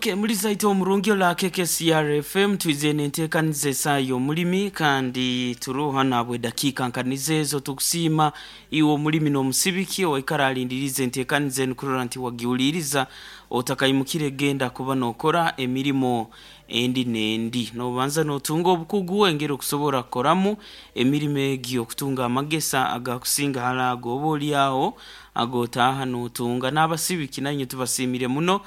Ok muliza itwe omurungi ola KKCR FM twize nentekaniza esaha yomulimi kandi turoho hanu ahabwedakiika nka nizo ezo tukusiima iwe omulimi nomusibiki owaikara alindiriize entekaniza enu kurora nti wagihuliiriza otakaimukire genda kuba nokora emirimo endi nendi. Nobanza notunga obukugu engeri okusobora kukoramu emirimo egyo okutunga amagesa agakusinga hali ago oba olyaho ag'otaaha n'otunga. N'abasibiki nainye tubasiimire muno,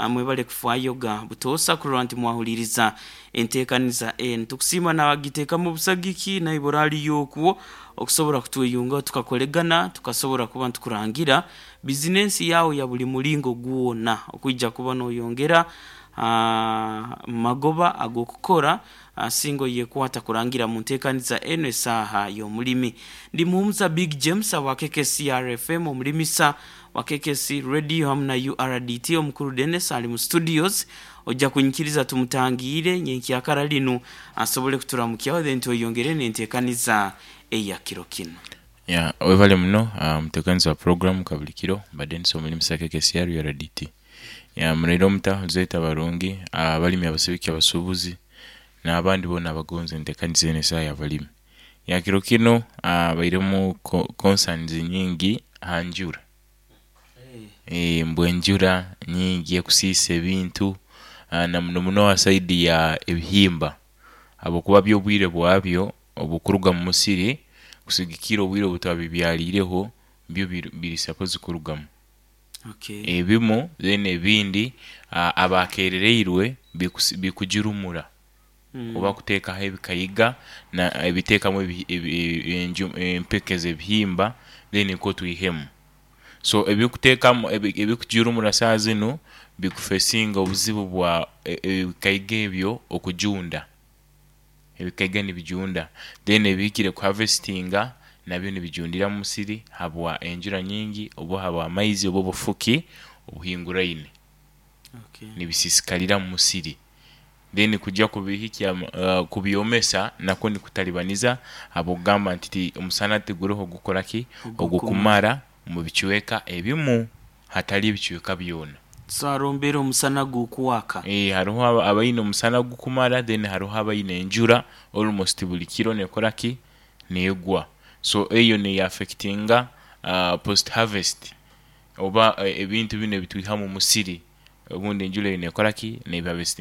mwebale kufaayo ga butoosa kurora nti mwahuliiriza enteekaniza enu. Tukusiima n'abagiteekamu obusagiki naibora aliyo okwo okusobora kutweyungaho tukakolegana tukasobora kuba nitukurangira bizinensi yaawe ya buli mulingo gwona okwija kuba noyongera ha magoba ag'okukora. Singa oyekwata kurangira mu ntekaniza eno esaaha y'omulimi. Ndi Muhumuza Big James awa KKCR FM, omulimisa wa KKC Radio hamu na URDT. Omukuru Dennis ali mu studios, oja kunyikiriza tumutangiire nyenkyakara linu asobole kuturamukyaho then tweyongere n'entekaniza eya kiro kinu. Yeah, webale muno omuteekaniza wa puroguramu kabuli kiro, mbadde Denis omulimisa KKCR URDT. Yeah, muraire omuta Zeta abarungi, abalimi abasibiki abasubuzi n'abandi boona abagonza entekaniza enu esaaha y'abalimi. Yeah, kiro kinu bairemu concerns nyingi ha njura. Mbu enjura nyingi ekusiisa ebintu na muno muno ha saidi ya ebihimba habwokuba byo obwire bwabyo obukuruga mu musiri kusigikirra obwire obu twabibyariireho byo biri supposed kurugamu. Ebimu then ebindi abakerereirwe bikugirumura oba kuteekaho ebikaiga ebiteekamu empeke z'ebihimba then nikwo twihemu. So ebikuteekamu ebikugirumura saaha zinu bikufesinga obuzibu bwa ebikaiga ebyo okujunda. Ebikaiga nibijunda then ebihikire ku harvestinga nabyo nibijundira mu musiri habwa enjura nyingi oba habwa amaizi oba obufuki obuhinguraine. Nibisisikarira mu musiri then kuja kubihikya kubyomesa nakwo nikutaribaniza habw'okugamba nti omusana tiguriho ogukora ki? Ogukumara omu bicweka ebimu hatari ebicweka byona. So hariho mbeera omusana gukwaka. Eeh hariho abaine omusana gukumara then hariho abaine enjura almost buri kiro nekora ki? Negwa. So eyo neya affectinga post harvest oba ebintu binu ebitwiha omu musiri obundi enjura eyo nekora ki?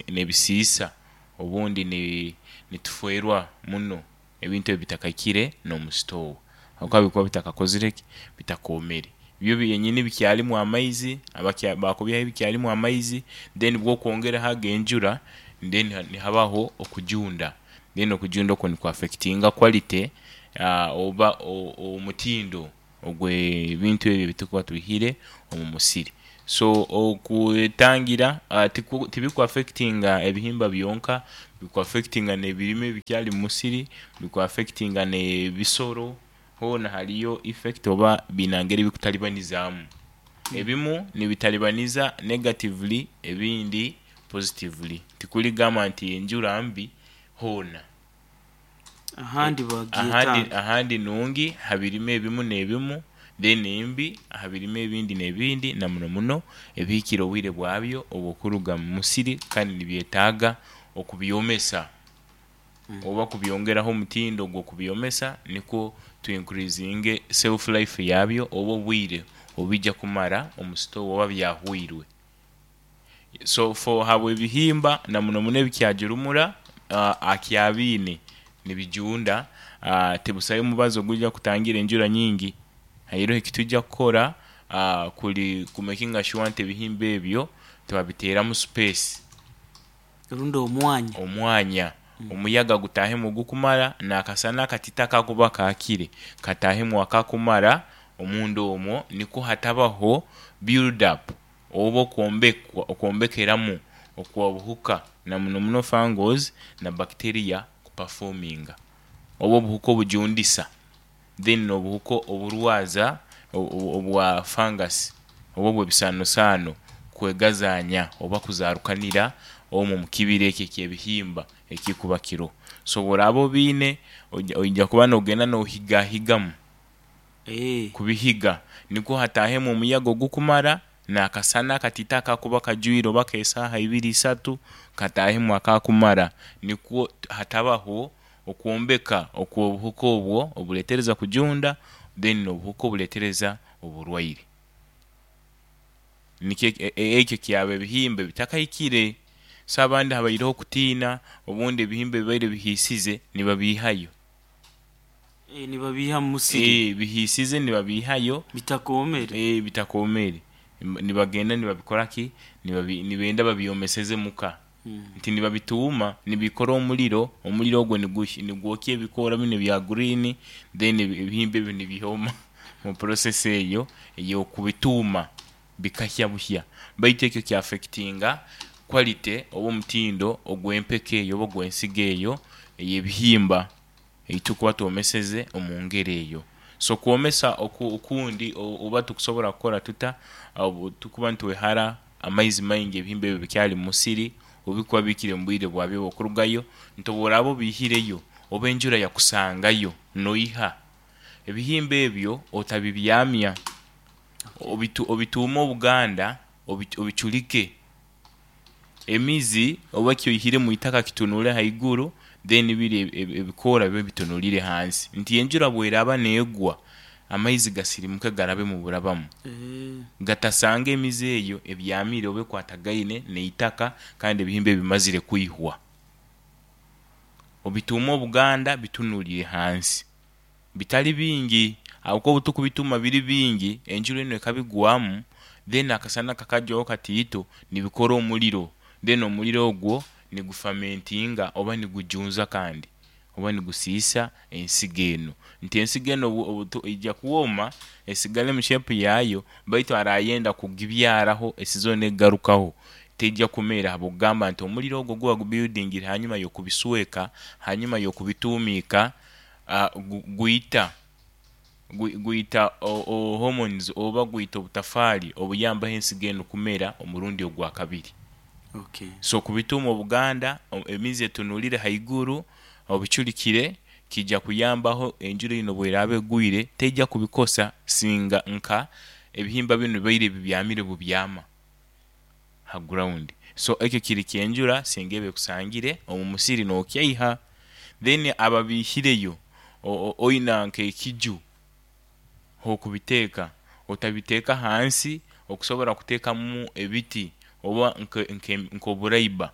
Nebisiisa obundi nitufwerwa muno. Ebintu ebyo bitakahikire n'omu sitoowa ahabw'okuba bikuba bitakakozire ki? Bitakoomere. Byo byenyini bikyarimu amaizi, baakubiihaho bikyarimu amaizi then bw'okwongeraho ag'enjura then nihabaho okujunda. Then okujunda okwo niku affectinga quality oba omutindo ogw'ebintu ebyo ebi turikuba twihire omu musiri. So okwetangira tibiku affectinga ebihimba byonka, biku affectinga n'ebirime ebikyari omu musiri, biku affectinga n'ebisoro, hoona hariyo effect oba biine engeri ebikutaribanizaamu. Ebimu nibitaribaniza negatively ebindi positively. Tikurigamba nti enjura mbi hoona. Ahandi bagyetaaga. Ahandi nungi ha birime ebimu n'ebimu, then embi aha birime ebindi n'ebindi na muno muno ebihikire obwire bwabyo obw'okuruga mu musiri kandi nibyetaaga okubyomesa oba kubyongeraho omutindo gw'okubyomesa nikwo tu increasinge shelf life yabyo oba obwire obu bija kumara omu sitoowa oba byahwairwe. So for habw'ebihimba na muno muno ebikyagirumura akyabiine nibijunda, tibusayo mubazi ogwija kutangira enjura nyingi. Hairoho ekitwija kukora kuri ku makinga sure nti ebihimba ebyo twabiteeramu space. Rundi omwanya. Omwanya. Omuyaga gutaahemu ogukumara, n'akasana akatito akakuba kaakire kataahemu akakumara omunda omwo nikwo hatabaho build up oba okwombekeramu okw'obuhuka na muno muno fungals na bacteria kupafominga oba obuhuka obujundisa then n'obuhuka oburwaza obwa fungus oba obw'ebisaanosaano kwegazaanya oba kuzarukanira omwo omu kibira ekyo eky'ebihimba ekirikuba kiriho. So bw'oraaba obiine oija kuba noogenda noohigahigamu. Kubihiga, nikwo hataahemu omuyaga ogukumara N'akasana akatiito akakuba kajwire oba ak'esaaha ibiri isatu kataahemu akakumara nikwo hatabaho okwombeka okw'obuhuka obwo obuleetereza kujunda then n'obuhuka obuleetereza oburwaire. Nikyo ekyo kyaba ebihimba ebitakahikire. So abandi habaireho okutiina obundi ebihimba ebibaire bihiisize nibabiihayo. Nibabiiha mu musiri. Bihiisize nibabiihayo. Bitakoomere. Bitakoomere. Nibagenda nibabikora ki? Nibenda babyomeseze muka. Nti nibabituuma nibikora omuriro, omuriro ogwo nigwokya ebikoora binu ebya green then ebihimba ebyo nibyoma mu process eyo ey'okubituuma bikahya buhya. Baitu ekyo kya affectinga quality oba omutindo ogw'empeke eyo oba ogw'ensigo eyo ey'ebihimba. Ei turikuba twomeseze omu ngeri eyo. So kwomesa oku okundi oba tukusobora kukora tuta obu tukuba nitwehara amaizi maingi ebihimba ebyo bikyari mu musiri obu bikuba bihikire mu bwire bwabyo obw'okurugayo nti obu oraaba obiihireyo oba enjura yakusangayo noiha ebihimba ebyo otabibyamya obitu obituume obuganda obicurike. Emizi oba eki oihire mu itaka kitunule haiguru then biri ebikoora bibe bitunulire hansi. Nti enjura bweraaba neegwa, amaizi gasirimuke garabe mu burabamu. Gatasanga emizi eyo ebyamire oba ekwatagaine n'eitaka kandi ebihimba ebyo bimazire kwihwa. Obituume obuganda bitunulire hansi. Bitali bingi, ahabw'okuba obu turikubituuma biri bingi, enjura enu ekabigwamu, then akasana kakajwaho kataito, nibikora omuriro, then omuriro ogwo nigufamentinga oba nigujunza kandi oba nigusiisa ensigo enu. Nti ensigo enu obu eija kwoma esigale mu shape yaayo, baitu arayenda kugibyaraho esizoni ekugarukaho, teija kumera ahabw'okugamba nti omuriro ogwo ogu bagubuildingire hanyuma y'okubisweka, hanyuma y'okubituumiika, Gwita gwita hormones oba gwita obutafaali obuyambaho ensigo enu kumera omurundi ogwakabiri. So kubituuma obuganda emizi etunulire haiguru obicurikire kija kuyambaho enjura eno bweraaba egwire teija kubikosa singa nka ebihimba binu bibaire bibyamire bubyama ha ground. So ekyo kiri kyenjura singa eba ekusangire omu musiri nokyaiha. Then ababiihireyo oina nk'ekiju h'okubiteeka, otabiteeka hansi okusobora kuteekamu ebiti oba nk'oburaiba.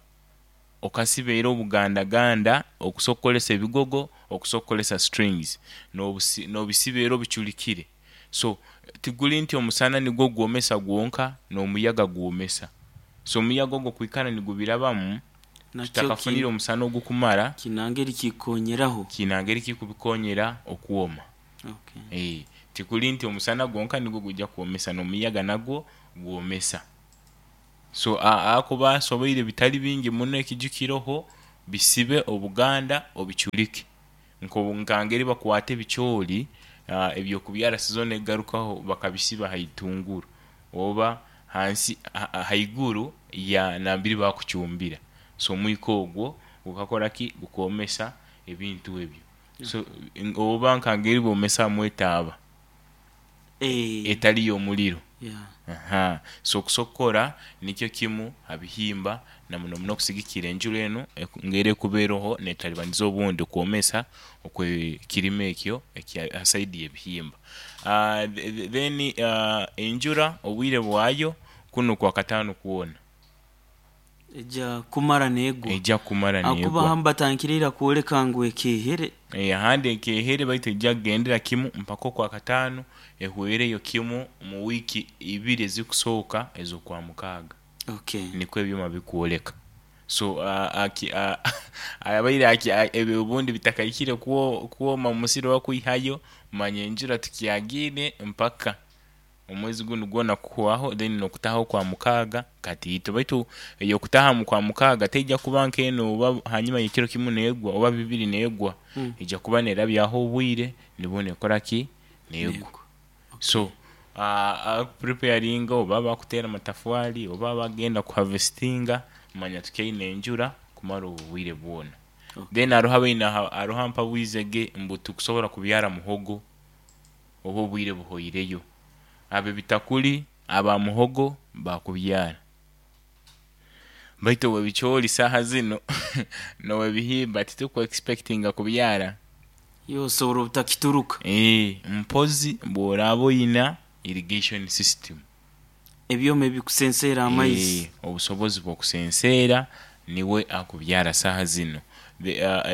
Okasiba era obugandaganda okusobola kukozesa ebigogo, okusobola kukozesa strings n'obisiba era obicurikire. So tiguri nti omusana nigwo gwomesa gwonka, n'omuyaga gwomesa. So omuyaga ogwo kwikara nigubirabamu, Nakyo tutakafunire ki omusana ogukumara. Kiine ngeri kikukonyeraho. Kiine ngeri kikubikonyera okwoma. Okay. Tikuri nti omusana gwonka nigwo gwija kwomesa, n'omuyaga nagwo gwomesa. So ahakuba asoboire bitari bingi muno ekiju kiroho, bisibe obuganda obicurike. Nka ngeri bakwata ebicoori eby'okubyara sizoni ekugarukaho bakabisiba ha itunguru oba hansi haiguru ya nambiri bakucumbira. So omwika ogwo gukakora ki? Gukoomesa ebintu ebyo. So oba nka ngeri bomesamu etaaba etari y'omuriro. So okusobola kukora nikyo kimu ha bihimba na muno muno okusigikirra enjura enu engeri erikuba eroho neetaribaniza obundi okwomesa okw'ekirime ekyo ekya ha saidi y'ebihimba. Then enjura obwire bwayo kunu Kwakataano kwona. Eja kumara neegwa. Eja kumara Ahakuba neegwa. ahamu batandikire ira kwoleka ngu ekeehere. Ahandi ekeehere baitu eija kugendera kimu mpaka Okwakataano ehwereyo kimu omu wiiki ibiri ezirikusooka ez'Okwamukaaga. Okay. Nikwo ebyoma birikwoleka. So abaire ebyo obundi bitakahikire kwoma omu musiri oba kwihayo, manya enjura tukyagiine mpaka Omwezi gunu gwona kuhwaho then nokutaha okwamukaaga katiito baitu eyokutaha mukwamukaaga teija kuba nk'eno oba hanyuma yekiro kimu negwa oba bibiri negwa eija kuba nerabyaho obwire nibwo nekora ki negwa so abakupreparinga oba abakuteera amatafwari oba abagenda kuhavesitinga manya tukyaine enjura kumara obu bwire bwona then haroho abaine haroho ampabwizege mbu tikusobora kubyara muhogo oba obwire buhoireyo. Abo ebitakuri Aba muhogo bakubyara. Baitu ow'ebicoori saaha zinu n'ow'ebihimba tituku expectinga kubyara. Iwe osobola obutakituruka. Eeh mpozi bw'oraaba oina irrigation system. Ebyoma ebikusenseera amaizi. Eeh obusobozi bw'okusenseera niwe akubyara saaha zinu.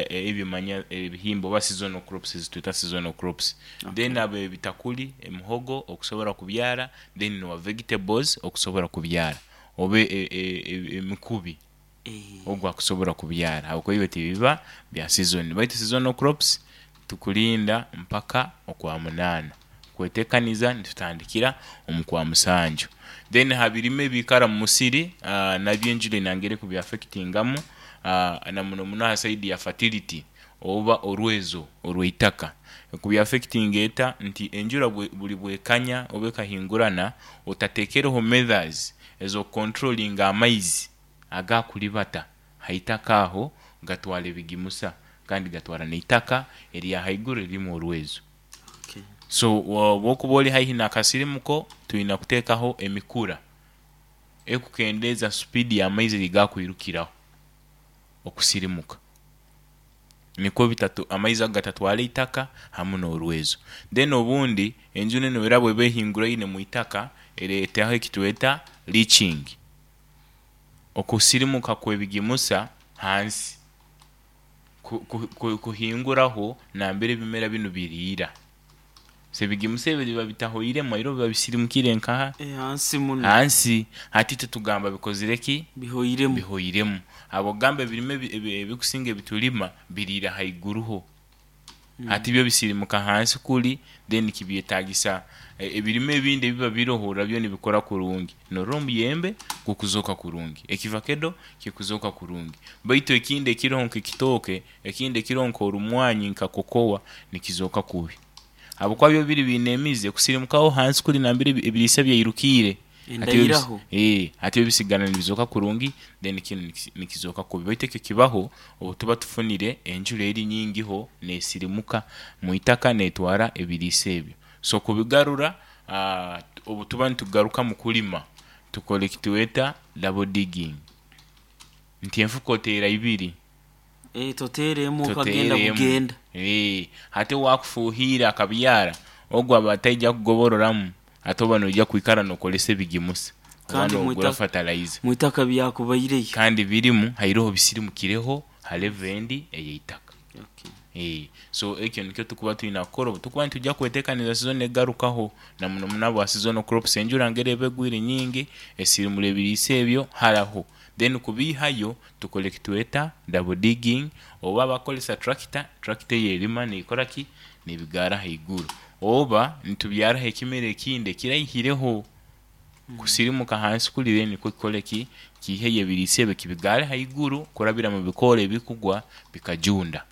Ebyo manya ebihimba oba seasonal crops ezitweta seasonal crops. Then ab'ebitakuri, emihogo okusobora kubyara, then n'owa vegetables okusobora kubyara oba emikubi ogu akusobora kubyara ahabw'okuba ebyo tibiba bya sizoni. Baitu seasonal crops tukulinda mpaka okwamunaana kwetekaniza nitutandikira omu kwamusanju. Then ha birime ebiikara mu musiri nabyo enjura eine engeri ekubi affectingamu na muno muno ha side ya fertility oba orwezo orw'eitaka. Ekubi affectinga eta? Nti enjura buri bwekanya oba ekahingurana otatekereho methods ez'okucontrollinga amaizi agakuribata ha itaka aho gatwara ebigimusa kandi gatwara n'eitaka erya haiguru eririmu orwezo. So bwokuba ori haihi n'akasirimuko twine kuteekaho emikura erikukendeeza supiidi y'amaizi ei gakwirukiraho okusirimuka nikwo bitatu amaizi ago gatatwara eitaka hamu n'orwezo. Then obundi enjura enu era bweba ehinguraine mu itaka ereetaho ekitweta leaching, okusirimuka kw'ebigimusa hansi kuhinguraho nambere ebimera binu biriira. So ebigimusa ebyo biba bitahoiremu aire biba bisirimukire nkaha? Hansi muno. Hansi. Hati itwe tugamba bikozire ki? Bihoiremu. Bihoiremu. Habw'okugamba ebirime ebikusinga ebitulima biriira haiguruho. Hati byo bisirimuka hansi kuri then kibyetagisa ebirime ebindi ebiba biroho nabyo nibikura kurungi. Norora omuyembe gukuzoka kurungi, ekivakedo kikuzoka kurungi baitu ekindi ekiroho nk'ekitooke, ekindi ekiroho nk'orumwanyi nka kokowa nikizoka kubi. Habwokuba byo biri biine emizi kusirimukaho hansi kuri nambere ebiriisa byairukiire. Endairaho. Hati byo bisigara nibizoka kurungi then kinu nikizoka kubi. Baitu ekyo kibaho obutuba tufunire enjura eri nyingiho nesirimuka mwitaka netwara ebiriisa ebyo. So kubigarura obutuba nitugarukamu kulima tukora ekitweta double digging nti enfuka oteera ibiri. Toteera emu okagenda Toteera emu. bugenda. Hati owakufuuhiire akabyara ogwo aba ataija kugobororamu ate oba noija kwikara nokoresa ebigimusa oba Kandi nogura fertilizer. mwitaka byakubaireyo. Kandi birimu hairoho bisirimukireho ha level endi eyeitaka. So ekyo nikyo tukuba twine kukora obutukuba nitwija kwetekaniza sizoni ekugarukaho na muno muno ahabwa seasonal crops enjura ngeri eba egwire nyingi esirimura ebiriisa ebyo haraho. Then kubiihayo tukora ekitweta double digging oba abakukoresa tractor, tractor eyo erima nekora ki? Nebigaara ahaiguru. Oba nitubyaraho ekimera ekindi ekiraihireho kusirimuka ahansi kuri then nikwo kikore ki? Kiiheyo ebiriisa ebyo kibigaare ahaiguru kurabira mu bikoora ebirikugwa bikajunda.